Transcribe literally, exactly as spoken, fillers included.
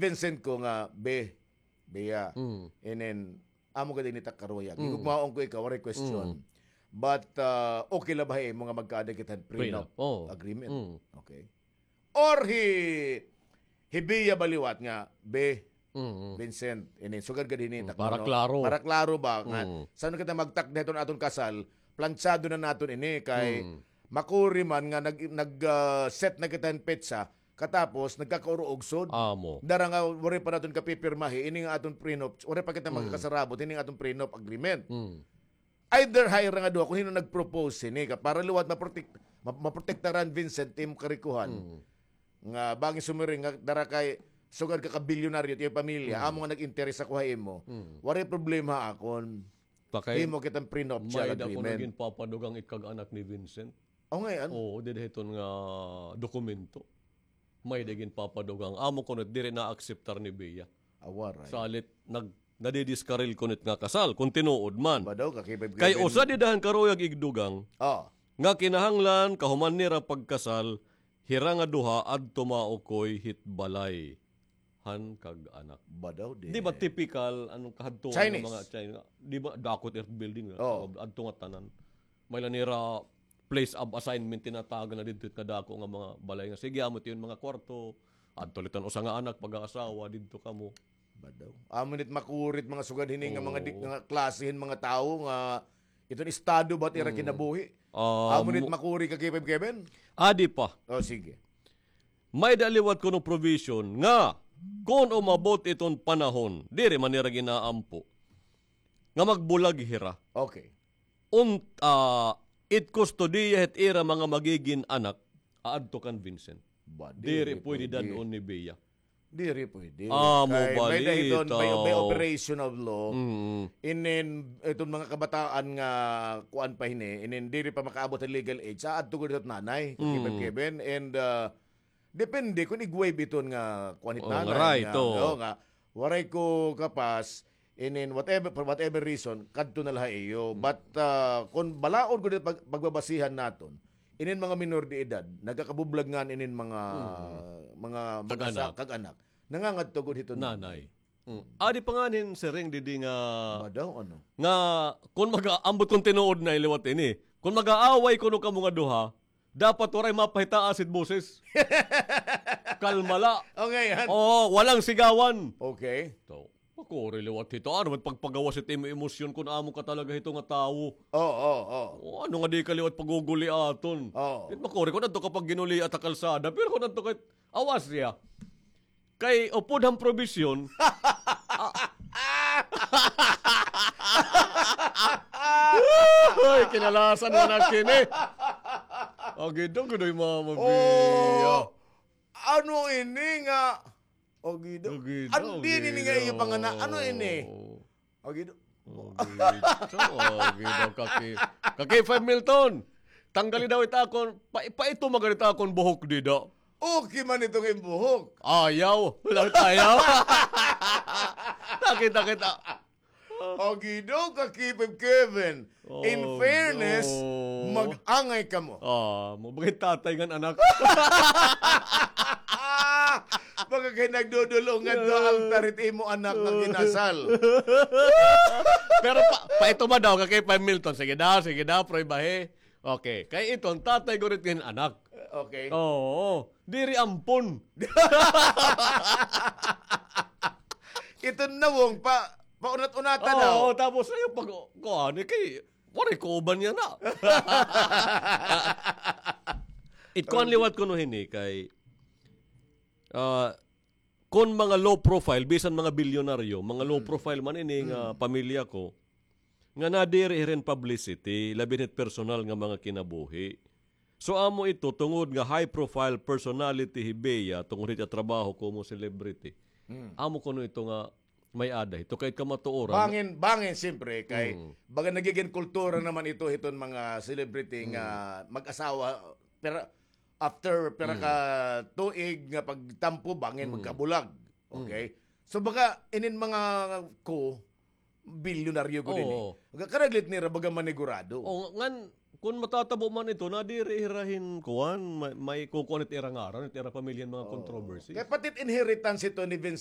Vincent ko nga, be, Bea. Mm. And then, amo gad ini it ak karuyag. Mm. Higugmaon ko ikaw, waray question. Mm. But, ah, okay la ba ha imo nga magkaada kita hin prenup, prenup, oo, agreement? Mm. Okay. Or hi, hi Bea ba liwat nga, be, mm, Vincent, ini, sugad gad hini, mm, takon, para no? Klaro. Para klaro ba nga, mm, san-o kita magtakda hiton aton kasal, planchado na naton ini kay, mm, makuri man nga nag, nag, ah, set na kita hin petsa, katapos nagkakauruogsod. Amo. Dara nga waray pa naton kapipirmahi ini nga aton prenup, waray pa kita, mm, magkakasarabot ini nga aton prenup agreement. Mm. Either ha ira nga duha, kon hin-o nag-propose hini, ka para liwat maprotek-, ma-, maprotektaran, Vincent, imo karikohan. Mm. Nga bangin sumiring nga dara kay sugad ka kabilyonaryo it iyo pamilya, mm, amo nga nag-interes ako ha imo. Mm. Waray problema ha akon. Pakay, himo kita hin prenuptial agreement. May-ada kuno ginpapadugang it kag-anak ni Vincent. O, ngay-an? Oo, dida hiton nga dokumento. May-ada ginpapadugang. Amo kuno it diri naakseptar ni Bea. Awaray. Salit, nag-, nadidiskaril kuno it nga kasal, kon tinuod man. Ba daw, kakipay. Kay usa dida han karuyag igdugang, ah, nga kinahanglan kahuman nira pagkasal, hira nga duha adto maukoy hit balay han kag-anak. Ba daw, di. Di ba typical, anong kahadtuan nga mga Chinese? Di ba, dako it building, oh, adto nga tanan. May la nira place of assignment, tinatagan na didto it nga dako nga mga balay nga, sige, amo it iyo mga kwarto, adto la it an usa nga anak, pag-aasawa, didto kamo. Ba daw? Amo nit makuri it mga sugad hini nga mga di-, oo, nga klase hin mga tawo nga iton estado ba it ira, mm, kinabuhi. Ah, amo nit makuri, Kakipay Kevin? Adi pa. O, sige. May-ada liwat kuno provision nga kon umabot iton panahon, diri man nira gin-aampo nga magbulag hira. Okay. Un-, ah, it kustodiya hit ira mga magigin anak, aadto kan Vincent. Ba, diri pwede dad-on ni Bea. Diri pwede. Amo balita. Kay may-ada hiton, may, may operation of law. Mm. Inin, iton mga kabataan nga kuan pa hini, inin diri pa makaabot hin legal age, aadto gud hit nanay, Kakipay Kevin, and, ah, depende kon ig-waive iton nga kuan hit nanay, nga, o, nga waray ko kapas, inin whatever, for whatever reason, kadto na la ha iyo. Mm. But, ah, kon balaod gud it pag-, pagbabasihan naton, inin mga minor de edad, nagkakabublag ngani inin mga, mm, mga mag-asa-, kag-anak. Kag-anak. Nangangadto gud hiton nanay. Mm. Adi pa ngani hin siring didi nga, ba daw, ano? Nga, kon mag-, ambot kon tinuod na liwat ini. Kon mag-aaway kuno kamo nga duha, dapat waray mapahitaas it boses. Kalma la. Okay, yan. Oo, walang sigawan. Okay. So, makuri liwat hito. Ano man pagpagawas it imo emosyon kon amo ka talaga hito nga tawo? Oo, oo, oo. O, ano nga di ka liwat paguguliaton? Oo. It makuri kon adto ka pagginuliat ha kalsada, pero kon adto ka, awas siya. Kay upod han probisyon. Hoy, kinalasan mo na kini. Agido, gidoy mama, oh, Bea. Ano ini nga? Agido. Agido, ano din ini nga iyo pangana? Ano ini? Agido. Agido, agido, Kaki-, Kakipay Milton. Tanggali daw it akon, pa-, paito man gad it akon buhok dida. Okay man ito nga im buhok. Ayaw, walang ayaw. Nakita kita. Agido, Kakipay Kevin. In fairness, mag-angay kamo. Ah, mabagay tatay ngan anak. Baga kay nagdudulong ngadto ha altar it imo anak nga kinasal. Pero pa, paito ba daw, Kakipay Milton? Sige daw, sige daw, pruebahi. Okay. Kay iton, tatay gud it hin anak. Okay. Oo. Diri ampon. Iton nawong pa, paunat-unatan daw. Oo, tapos ayaw pag, kuan, eh, kay waray kauban niya na. It kuan liwat kuno hini kay, ah, kon mga low profile, bisan mga bilyonaryo, mga low profile man ini nga pamilya ko, nga nadiri hira hin publicity, labi na hit personal nga mga kinabuhi. So, amo ito, tungod nga high profile personality hi Bea, tungod hit iya trabaho komo celebrity. Amo kuno ito nga may-ada hito kay kamatuoran. Bangin, bangin, siyempre, kay baga nagigin kultura naman ito hiton mga celebrity nga mag-asawa, pero after pira ka tuig nga pagtampo, bangin magkabulag. Okay? So, baga inin mga ko, bilyonaryo gud ini. Oo. Karaglit nira baga manigurado. Oo, ngan, kun matatabo man ito, nadiri hira hin kuan, may, may kukuan it ira ngaran, it ira pamilya hin mga controversy. Kay pati it inheritance ito ni Vincent